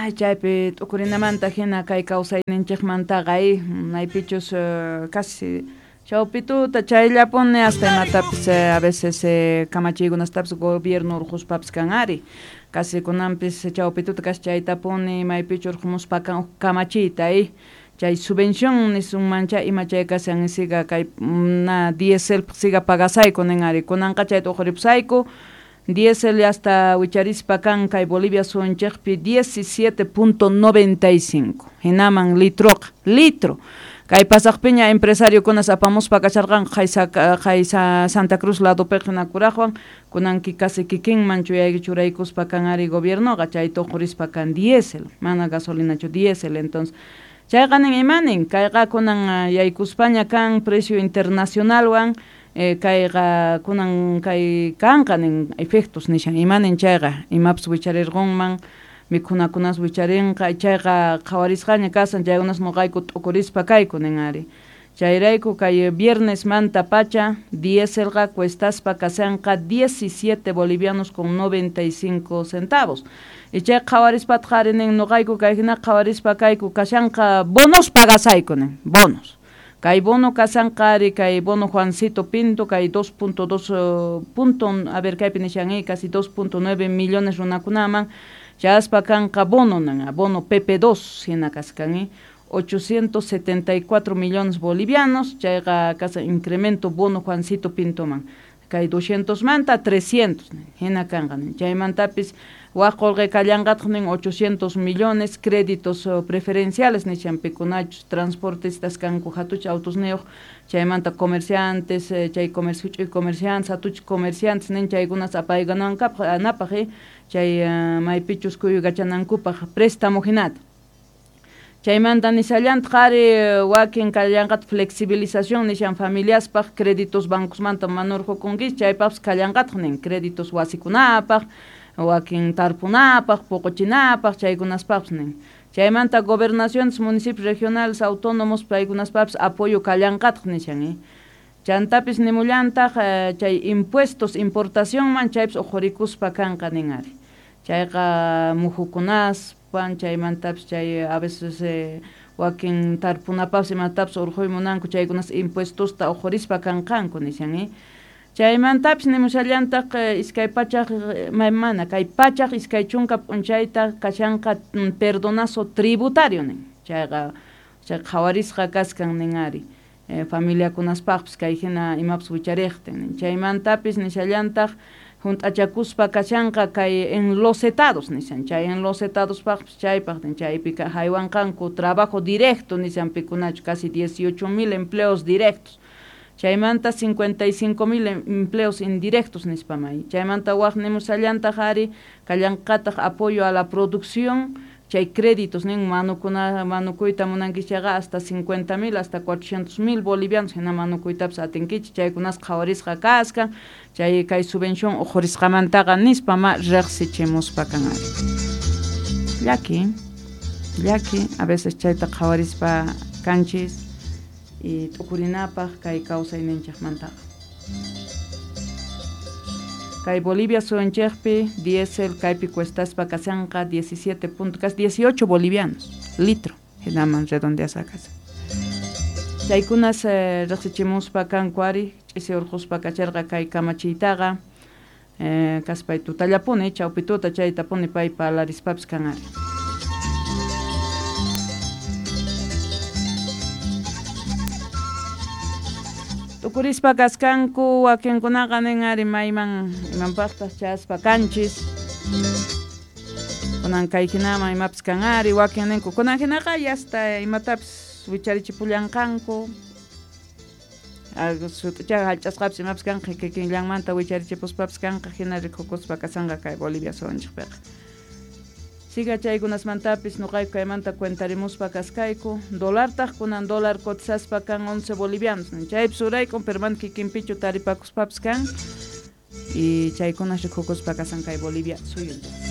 Ay, chaypi t'ukurinamanta hina kay kawsayninchikmantaqa maypichus casi chawpituta chayllapuni hasta imatapis a veces kamachiykunastapis gobierno urquspapis kan ari casi kunanpis chawpituta casi chaytapuni maypichu urqumuspa kan huk kamachiyta chay subvención nisunmancha ima chay kashan siga kay na dieselpaq siga pagasayku nin ari kunanqa chayta uquripusayku diesel hasta wicharispa kan kay Bolivia suyunchikpi 17.95 hinaman litroqa litro kay pasaqpiña empresariokunas apamuspa kasharqanku qaysa Santa Cruz ladopiqa hina kuraqwan kunanki casi kikinman churaykuspa kan ari gobiernoqa chayta uqurispa kan diesel mana gasolinachu diesel entonces chayqa nin imanin kayqa kunan yaykuspaña kan precio internacionalwan kayqa kunan kay kanqa nin efectos nishan imanin chayqa imapas wicharirqunman mikhunakunas wicharinqa chayqa qhawarisqaña kasan chaykunas nuqayku t'ukurispa kayku nin ari chayrayku kay viernes manta pacha dieselqa cuestaspa kashanqa 17 bolivianos con 95 centavos y chay qhawarispataq ari nin nuqayku kay hina qhawarispa kayku kashanqa bonos pagasayku nin bonos kay bono kashanqa ari kay bono Juancito Pinto kay 2.2 punto a ver kaypi nishan casi 2.9 millones runakunaman chaspa kanqa bono nan bono PP2 hina kaskan 874 millones bolivianos chayqa kasa incremento bono Juancito Pintoman kay 200 manta 300 hina kanqa chaymantapis waq qullqi kallanqataq nin 800 millones créditos preferenciales nishan pikunachus transportistas kanku hatuch autosniyuq chaymanta comerciantes chay comercio huch'uy comerciantes hatuch comerciantes nin chaykunas apaykunankapaq anapaq chay maypichus kuyukachanankupaq préstamo hinata chaymanta nishallantaq ari wakin kallanqataq flexibilización nishan familiaspaq créditos bancosmanta mana urqukunkichik chaypaqpis kallanqataq nin créditos wasikunapaq wakin tarpunapaq puquchinapaq chaykunaspaqpis nin chaymanta gobernaciones municipios regionales autónomos paykunaspaqpis apoyo kallanqataq nishan chantapis nimullantaq chay impuestos importacionman chaypis uqurikuspa kanqa nin ari chayqa mujukunaspan chaymantapis chay a veces wakin tarpunapaqpis imatapis urquy munanku chaykunas impuestosta uqurispa kanqanku nishan chaymantapis nimushallantaq iskay pachaq mana kay pachaq iskay chunka p'unchayta kashanqa perdonazo tributario nin chayqa chay qhawarisqa kaskan nin ari familiakunaspaqpis kay hina imapas wichariqtin nin chaymantapis nishallantaq junt'achakuspa kashanqa kay enlosetados nishan chay enlosetadospaqpis chaypaq nin chaypi haywanqanku trabajo directo nishan pikunachu casi 18,000 empleos directos chaymanta 55,000 empleos indirectos nispamay chaymanta waq nimushallantaq ari kallanqataq apoyo a la producción chay créditos nin manukuyta munankichayqa hasta 50,000 hasta 400,000 bolivianos hina manukuytapis atinkichik chaykunas qhawarisqa kaskan chay kay subvención uqhurisqamantaqa nispa ma riqsichimuspa kan ari llaki a veces chayta qhawarispa kanchis y t'ukurinapaq kay kawsayninchikmantaqa kay Bolivia suyunchikpi diésel kaypi cuestaspa kashanqa 17 punto casi 18 bolivianos litro hinaman redondeasqa kashan chaykunas riqsichimuspa kanku ari ch'isi urquspa kacharqa kay kamachiytaqa kaspay tutallapuni chawpi tuta chaytapuni pay parlarispapis kan ari T'ukurispa kaskanku wakinkunaqa nin ari mayman imanpaqtaq chaspa kanchis kunan kay hinaman imapis kan ari wakin ninku kunan hinaqa yasta imatapis wicharichipullanqanku sut'ichaqa hallch'asqapis imapis kanqa kikinllanmanta wicharichipuspapis kanqa hina rikukuspa kasanqa kay Bolivia suyunchikpiqa siga chaykunasmantapis nuqayku kaymanta cuentarimuspa kaskayku dolartaq kunan dólar cotizaspa kan 11 bolivianos chaypis uraykun pero mana kikinpichu taripakuspapis kan y chaykunas rikukuspa kasan kay Bolivia suyunchik.